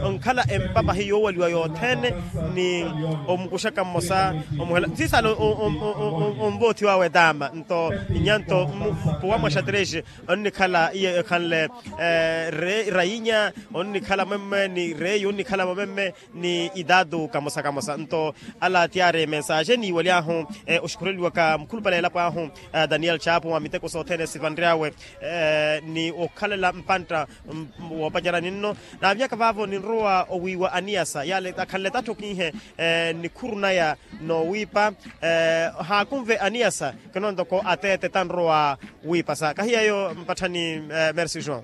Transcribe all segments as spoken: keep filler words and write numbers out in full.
onkhala empapahi yoowaliwa yothene ni omukuxaka mmosa omuhela sisala onvoothiwawe taama nto inya nto mpuwa mwa xatrexi onnikhala iye ekhanle rainya onnikhala mwemme ni reyi onnikhala mwemme ni itaatu kamosa kamosa nto ala tiyaari mensaxe niiwaly'ahu oxukhureliwaka mukhulupale elapo ahu daniel chapu wa miteko sothene sivanry'awe ni okhalela mpantta woopacerani nno naavinyaka vaavo ninrowa owiiwa aniyasa yale akhanle tatthu okinhe nikhuru naya noowiipa haakunve aniyasa kinontoko ateete tanrowa wiipasa kahiyeyo mpatthani mersi joão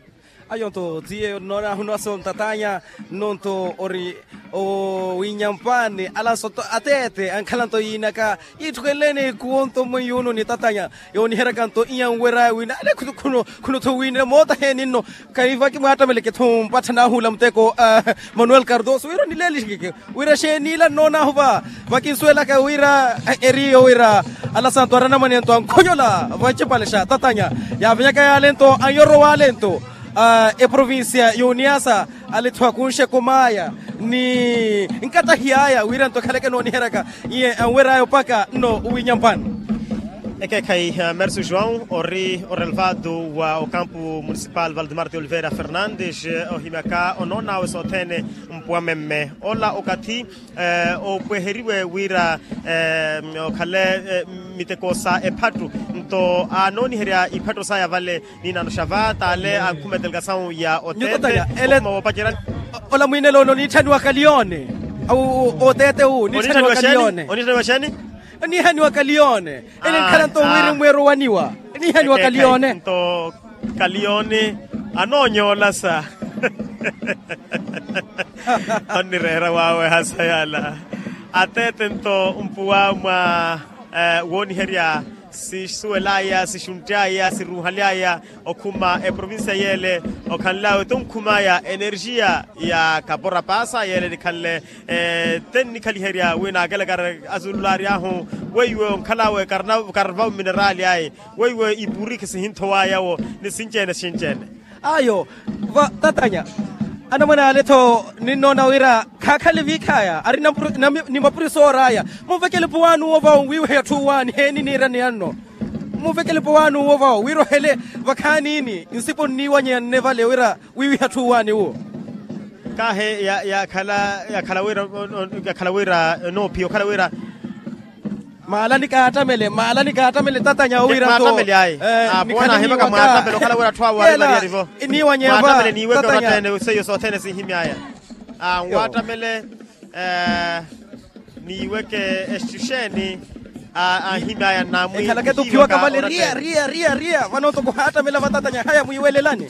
ayo nto tiye noonaahu nwaso ntatanya nno nto ori owinyampani alanso ateete ankhala nto yiinaka yiitthukenleni kuwo nto mmwiyuno nitatanya yooniheryaka nto iyanweraya wina ale khunu tho wiinela moota heeni nno kaivaki mwaattamele kethu mpatthana ahula muteko manuel cardoso wira nileelixikeke wira xeeni ila nnoonaahu va vakinsuwelaka wira eriyo wira alasanto aranamwane nto ankhonyola vancipale xa tatanya yaavenyaka yaale nto anyorowaale nto eprovincia y'oniasa aletthu akunxe komaaya ni nkatahi aya wira nto ekhaleke nooniheryaka iye anwer'aya opaka nno owinyampani ekeekhayi mersi joão ori orelvado wa okampu municipal valdemar de oliveira fernandes ohimyaka onoon'awe sothene mpuwa memme ola okathi opweheriwe wira okhale miteko sa ephattu nto anooniherya iphattu saya vale ninano xa va t'ale ankhumetteleka sawu ya oteete okuma woopacerya ola mwiinelo oniitthaniwa kaliyone oteete wu oniitthaniwa kaliyone oniitthaniwa xani oniihaniwa kaliyone ene nkhala nto wiri mweerowaniwa oniihaniwa kaliyone nto kaliyone anoonyoola sa onnireera waawe hasa yala ateete nto mpuwa mwa wooniherya sisuwel'aya sixuntty'aya siruuhaly'aya okhuma eprovincia yeele okhanl'awe tonkhum'aya energia ya kapora paasa yeele nikhanle te nnikhaliherya wi naakelekari azululaary'ahu weiwe onkhal'awe karvau minerali ayi weiwe ipurikhi sihinthow'aya-wo ni sinci-ene sinci-ene ayo tatanya anamwane ale-tho ninnoona wira khaakhale viikhaya ari ni mapuriso oor'aya munvekele puwaani uwo vawo wiiwehe atthu uwaani heeni niirani anno munvekele puwaani uwo vawo wira ohele vakhaani-ni nsipo nniiwanyeya nne vale wira wiiwiha atthu uwaani uwo kaahi yakhala wira yakhala wira noophiya okhala wira maalani kaattamele maalani kaattamele tatanya owira nto mwaattamele ayi apo naahimaka mwaattamele okhala wira atthu awo ari variyari-vo mwaattamele niiweke onothene seiyo sothene sinhimy'aya mwaattamele niiweke exuxeeni anhimy'aya namwi ekhalake tuphiwaka vale riya riya riya riya vano toko haattamela vatatanya haya mwiiwelelani